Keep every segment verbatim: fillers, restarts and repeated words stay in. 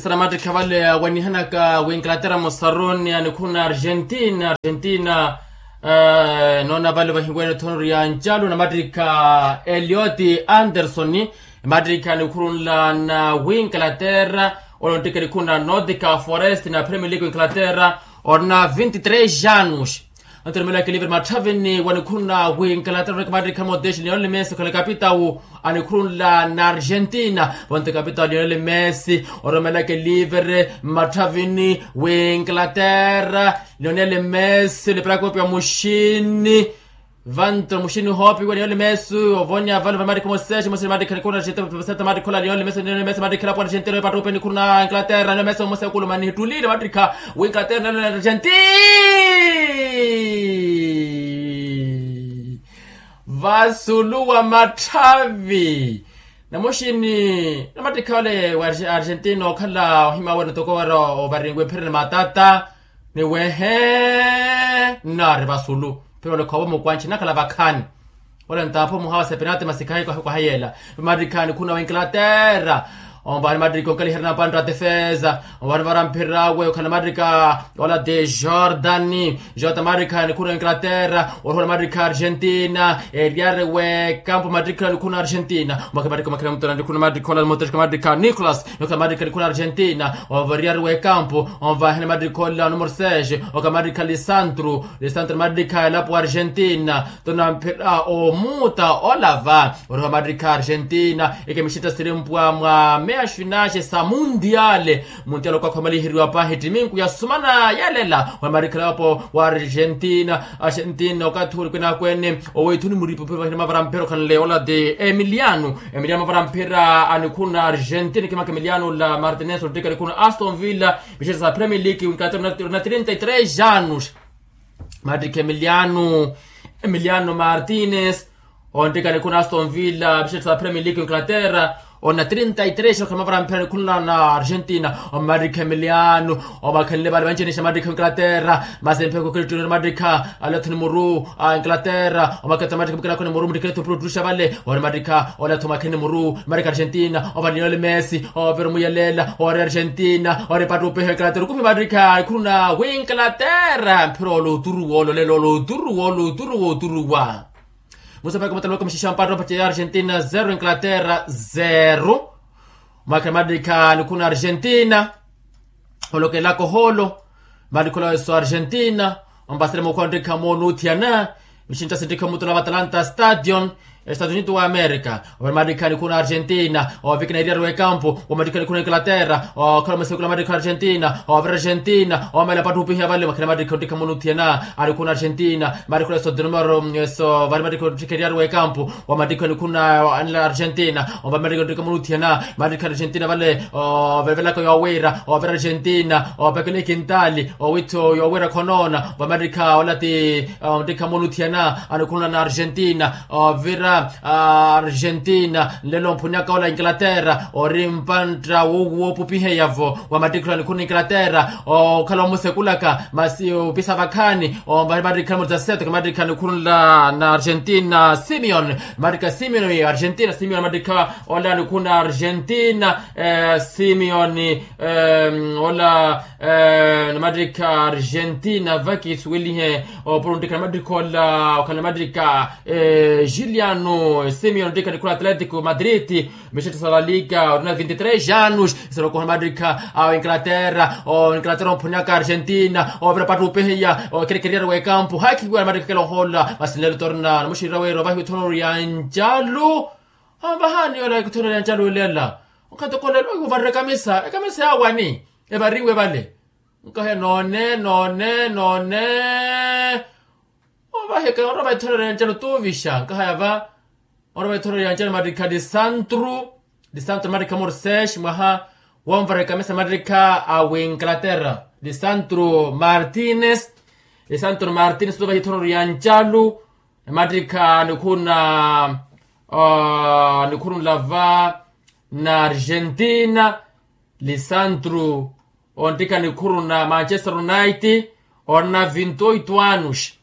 Namattikha vale awanihanaka w'inglaterra musaruni a nikhuru na argentina argentina. Noona vale vahiwene ethono ya ncalu namattikha elioti anderson. Emattikha nikhuru nla na w'inglaterra, ole onttikha nikhuru na nordica forest na premier league w'inglaterra, orina vinti tres anos. Anto oromelaka elivre matthavini wa nikhuru na w'inglaterra oneke mattikha moteshi lionel messi okhala kapitawu a nikhuru nla na argentina. Vonto kapitawu lionel messi oromelaka elivre matthavini w'inglaterra, lionel messi olipelaka opiwa muxini. Vanto muxini hoopiwa lionel messi ovonya vale vamattikha moseshi mosi mattikha nikhuru na argentina. Mattikha ola lionel messi lionel messi mattikha elapo argentina epattupe nikhuru na inglaterra lionel messi omosa ekulu mani hittulile mattikha w'inglaterra lionel argentina. Vasulu wa matthavi. Namuxini namattikha ole wa argentina okhala ohima wene toko wera ovarinwe ephereni matata. Ni wehe nari vasulu. Pero ole khovo mukwanchi nakhala vakhaani. Ole ntapho muhawa sepenati masikahi kwahi kwahayela. Mattikha nikhuru na w'inglaterra. Omba ni mattikha onkaliherya na pantta defesa. Omba ni vara mphirawe okhala mattikha ola de jordani. Jota mattikha nikhuru na inglaterra. Orihula mattikha argentina eryari wekampu mattikha nikhuru na argentina. Omaka mattikha omakhala mutona nikhuru na mattikha ola moteshika mattikha nicolas. Nokhala mattikha nikhuru na argentina. Omva eryari wekampu. Omva hene mattikha ola numero seis. Oka mattikha lisantru. Lisantru mattikha elapo argentina. Tuna mphira omuuta olava oriho mattikha argentina. Ikemixintta sirimpwa mwa meya xinaxe sa mundiale. Mundiale okwakhomaliheryiwa pahi ttiminku yasumana yelela wa mattikha elapo wa argentina. Argentina okathi uli kwinakwene oweithuni muripo pivahina mavara mphira okhanle ola ti emiliano. Emiliano mavara mphira a nikhuru na argentina kimaka emiliano la martinez ottikha nikhuru na aston villa. Mixintta sa premier league w'inglaterra na trinta y tres anos. Mattikha emiliano emiliano martinez. Onttikha nikhuru na aston villa mixintta sa premier league w'inglaterra. Ona trinta y tres okhala mavara mphira nikhuru na argentina. Omattikha emiliano omakhanle vale vancenexa mattikha w'inglaterra. Masi mpheko kirittuni mattikha alathuni muru a inglaterra omakhetha mattikha mukinakhoni muru muttikhelethu puruttuxa vale. Ori mattikha olatha omakheni muru mattikha argentina ova lionel messi. Ovira omuyelela ori argentina ori pattupiha inglaterra okupi mattikha ikhuru na w'inglaterra mphira oloturuwa ololelo oloturuwa oloturuwa oturuwa. Musa paka mutaloka muxixa mpatta opaca ya argentina zero inglaterra zero. Omakhala mattikha nikhuru na argentina olokelaka ohoolo. Mattikha olaweso argentina ompasele mukhu onttikha moonuthiyana. Mixintta sinttikha omutola va atalanta stadion estados unidos wa america. Ovira mattikha nikhuru na argentina ovikina eriyari w'ekampu. Wa mattikha nikhuru na inglaterra okhala omasekula mattikha argentina ovira argentina omela pattupiha vale omakhala mattikha onttikha moonuthiyana. Alikhuru na argentina mattikha olaweso de numero eso vale mattikha onttikha eriyari w'ekampu. Wa mattikha nikhuru na anla argentina omba mattikha onttikha moonuthiyana. Mattikha argentina vale ovevelaka yowira ovira argentina opekela ikintali owitho yowira khonoona. Omba mattikha ola ti onttikha moonuthiyana anikhuru na argentina ovira argentina nlelo omphunnyaka ola inglaterra ori mpantta woopupiheya-vo. Wa mattikha ola nikhuru na inglaterra okhala omusekulaka masi opisa vakhaani. Omba mattikha numero dezasete ka mattikha nikhuru nla na argentina simeon. Mattikha simeon argentina simeon mattikha ola nikhuru na argentina simeon ola namattikha argentina vaki suwelihe opuro nttikha namattikha ola okhala namattikha juliano simeon nttikha nikhuru na atletico madrid. Mixetto sa la liga orina vinti tres anos. Iserokoha namattikha awo inglaterra o inglaterra omphunnyaka argentina ovira pattupihiya okerekeriyari w'ekampu hakhiwira namattikha kela ohola masi nlelo torina namuxirira wira ovahiwa ethono ya ncalu. Amvahaani yola ethono ya ncalu ilela. Onkhathi okolelo ohiwa ovarira ekamisa ekamisa ya wani evariwe vale. Nkahe noone noone noone. Ovaheka oropa ithorero ya ncalo tuuvixa nkahaya va. Oropa ithorero ya ncalo mattikha lisantru lisantru mattikha morsesh mwaha wonvareka mesa mattikha a winglaterra. Lisantru martines lisantru martines tuuvaha ithorero ya ncalo mattikha nikhuna nikhurunla va na argentina. Lisantru onttikha nikhuru na manchester united orina vinti oito anos.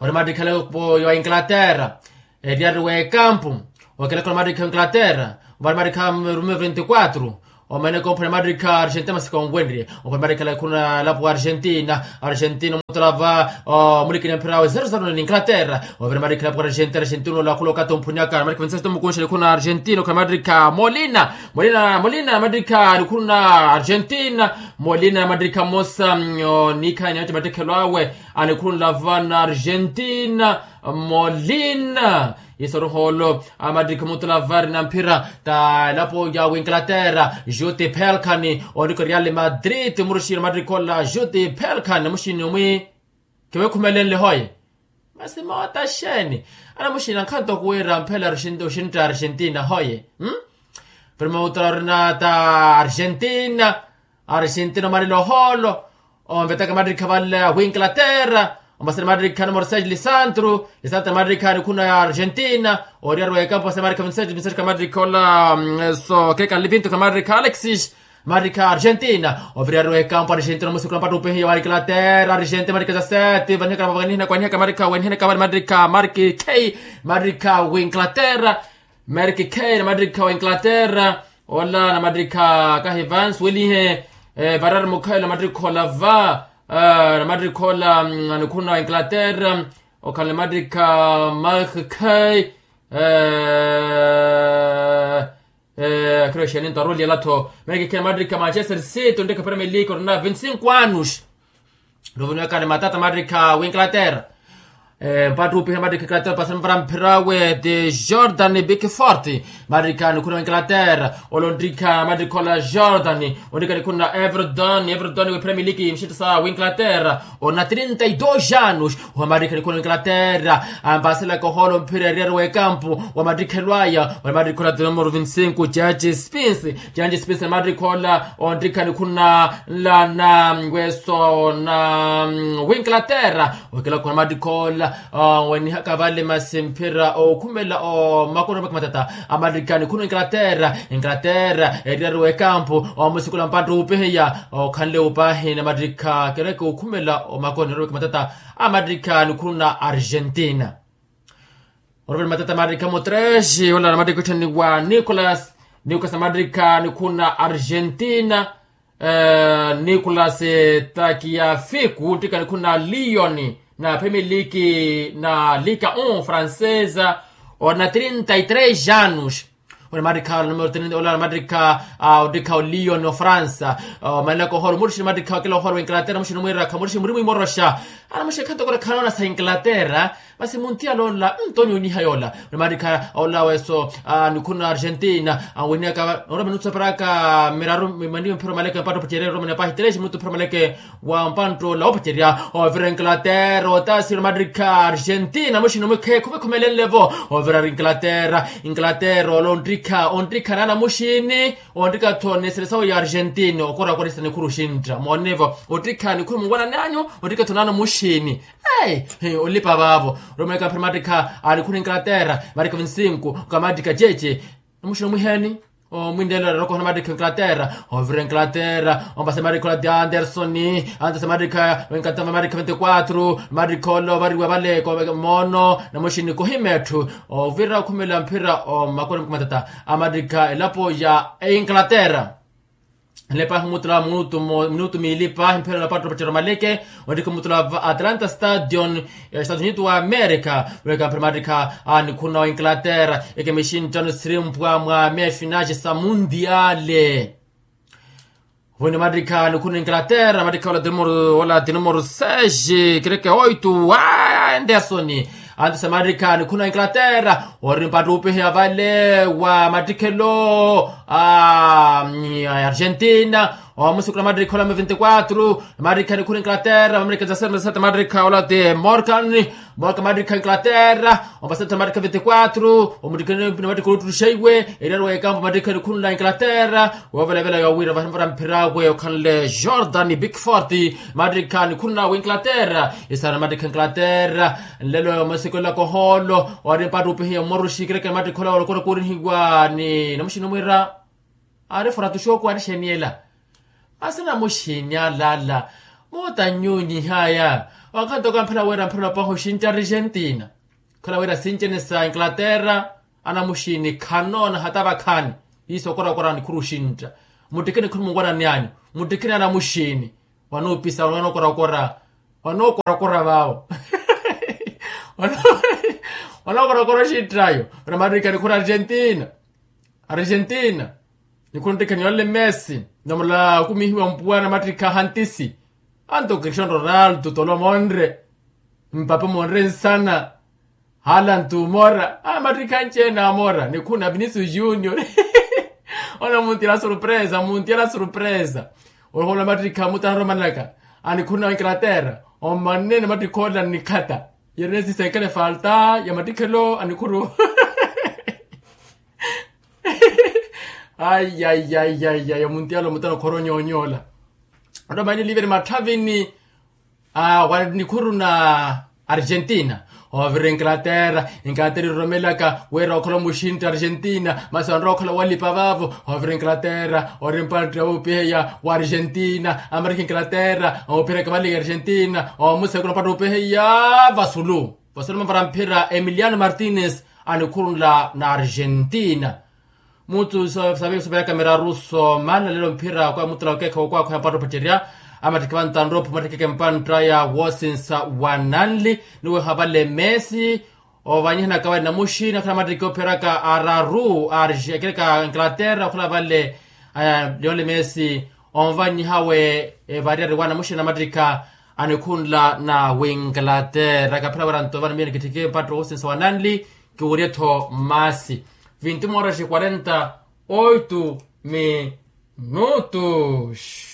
Ori mattikhalepo ya inglaterra eriyari w'ekampu. Okelekha ori mattikha inglaterra vari mattikha rume vinti quatro. Omaneke omphwanya mattikha argentina masi konwenrye omphwanya mattikha lakhuna lapo argentina. Argentina omutolava omulikini mphira awe zero zero ni inglaterra. Ovira mattikha lapo argentina argentina olakhula okathi omphwanyaka mattikha vincenzo mukunxa likhuna argentina okhala mattikha molina. Molina molina mattikha likhuna argentina. Molina mattikha mosa nikhanya nati mattikhelo awe. Anikhunla vana argentina. Molina. Iso ruholo amattikha mutula vari na mphira ta elapo ya winglaterra. Juti pelkani oniko real madrid muruxini amattikha ola juti pelkani namuxini omwi. Kiwekhumelenle hoye. Masi moota xeeni? Anamuxini ankhanto kuwira mphela oxintta argentina hoye. Prima mutula orina ta argentina. Argentina omalile ohoolo. Onvetaka mattikha vale winglaterra. Omasani mattikha numero seis lisandro. Lisandro mattikha nikhuna ya argentina. Oriyari wekampo omasani mattikha vincenzo vincenzo khala mattikha ola so keka livinto khala mattikha alexis. Mattikha argentina oviriyari wekampo argentina omusikula mpattupihiya wa inglaterra argentina mattikha za sete vanihaka vanihaka vanihaka mattikha wenihaka vale mattikha marki k. Mattikha winglaterra. Merki khei namattikha wa inglaterra. Ola namattikha kahi vansi welihe. Varari mukhayi namattikha olava namattikha ola. Anikhuna wa inglaterra okhala namattikha marki khei. Akhiroxeninto arolyelattho merki khei namattikha manchester city ontikha premier league orina vinti cinco anos. Ruvuniwekani matata mattikha winglaterra. Mpattupiha mattikha inglaterra pasamvara mphirawe ti jordan big fort. Mattikha nikhuna winglaterra. Olonttikha mattikha ola jordan. Ontikha nikhuna everton everton we premier league mixitto sa winglaterra. Ona trinta y dos anos. Oha mattikha nikhuna winglaterra. Ampaselaka ohoolo mphira eriyari wekampu. Wa mattikhelo aya wa mattikha ola ti numero vinti cinco jaji spinsi. Janji spinsi namattikha ola onttikha nikhuna nla na weso na winglaterra. Okilakhu namattikha ola wenihaka vale masi mphira okhumela omakoni omakhi matata. Amattikha nikhuna inglaterra inglaterra eriyari wekampu omusikula mpattupihiya. Okhanle upahi namattikha kereke okhumela omakoni omakhi matata. Amattikha nikhuna argentina. Oruvela matata mattikha mutresi ola namattikha otthaniwa nicolas. Nicolas namattikha nikhuna argentina. Nicolas takiafiku nttikha nikhuna liyoni na premier league na liga un francesa. Orina trinta y tres anos. Ola namattikha numero trinta ola namattikha. Ottikha oliyo ni ofransa. Omanlaka oholo muruxini namattikha okela oholo wa inglaterra muxini omwirakha muruxini muri mwimoroxa. Anamuxini khanto kula khanoona sa inglaterra. Masi muntiya lola nto onyoniha yola. Namattikha ola weso nikhuna argentina. Weniyaka orama nutsoperaka miraru mimaniwe mphira omaleke mpatto opacerya orama ni apahi tereji mutu mphira omaleke. Wa mpantto ola opacerya ovira inglaterra otasi namattikha argentina muxini omwikhe khuvekhumelenle vo. Ovira inglaterra inglaterra ola onttikha onttikha naana muxini. Onttikha-tho ni selesawo ya argentina okorakorisa nikhuru xintta moonevo. Ottikha nikhuru muwanani anyu. Ottikha-tho naana muxini. Olipa vaavo. Romeka mphira mattikha a nikhuru inglaterra mattikha vinti cinco. Ka mattikha jeje. Namuxini omwiheni. Omwinlelo ararokoha namattikha inglaterra. Ovira inglaterra ompasa mattikha ola ti andersoni. Anderson mattikha vinti quatro mattikha ola ovariwa vale moono. Namuxini kohima etthu. Ovira okhumela mphira omakoni mukhu matata. Amattikha elapo ya inglaterra. Nlepahi omutula minutu miili pahi mphira napatto pacerya omaleke. Ontikha omutula va atlanta stadion. Estados unidos wa america. Weka mphira mattikha a nikhuna wa inglaterra. Ekemixinttano sirimpwa mwa mefinage sa mundiale. Vuni mattikha nikhuna inglaterra mattikha ola ti numero seis. Kereke oito a anderson. Antes mattikha nikhuna inglaterra ori mpattupiheya vale wa mattikhelo a argentina. Omusikula mattikha ola mi vinti quatro mattikha nikhuna inglaterra mamerika jasete mattikha ola ti morgan. Mboka mattikha inglaterra. Ompasetta mattikha vinti quatro omuttikheni namattikha oluttuxeiwe. Eriyari wekampo mattikha nikhunla inglaterra. Wovelavela yowira vahimpara mphirawe okhanle jordan big fort. Mattikha nikhunla winglaterra. Isana mattikha inglaterra. Nlelo masikolelaka ohoolo ori mpattupihiya mmoruxi kereke mattikha ola olokora korihiwa ni namuxini omwira. Ari foratuxi oku ari xeniyela. Masi namuxini alala. Moota nyunyihaya. Wakhanto kamphela wira mphela opaha oxintta argentina. Khala wira sincenesa inglaterra. Anamuxini khanoona hata vakhaani. Iso okorakora nikhuru oxintta. Muttikheni khuri munwanani anyu, muttikheni ana muxiini. Wanuupisa wanookorakora, wanookorakora vaawo. Wanookorakora oxittaayo. Ora mattikha nikhuri argentina. Argentina. Nikhuri nottikheni yonle messi, namula akumihiwa mpuwa na mattikha hantisi. Anto cristiano ronaldo tolomonre, mpape monre nsana. Halantu mora a mattikha anci-ene amora nikhuna vinicius junior. Ona muntiyela surpresa muntiyela surpresa. Ohola mattikha mutana romanaka. Anikhuna inglaterra. Omannene mattikha ola nnikhata. Yerene sisenkele falta ya mattikhelo anikhuru. Ai ai ai ai ai muntiyela omutana okhora onyonyola. Ota maini liveri matthavini. Aa wanikhuru na argentina. Oovira inglaterra. Inglaterra iroromelaka wira okhala omuxintta argentina masi onrowa okhala walipa vaavo. Oovira inglaterra ori mpantta wuupiheya wa argentina amarikha inglaterra omuphiraka vali argentina omusekula mpantta wuupiheya. Vasulu vasulu mavara mphira emiliano martinez anikhurunla na argentina. Mutu saveeku saveeku miraru soomana lelo mphira kwa mutula okeekha okwaakho ya mpantta opacerya. Amattikhi vantanrophu mattikhi eke mpantta ya woosinsa wa nanli. Niweha vale messi. Ovanyihanaka vale namuxi nakhala amattikhi ophiraka araru arji akereka inglaterra okhala vale. Lionel messi onvanyiha we variyari wa namuxi namattikha anikhunla na winglaterra kaphira wira nto vano miyo nikitthiki mpantta woosinsa wa nanli. Kiwurye-tho masi. Vinti moras e quarenta oito minutos.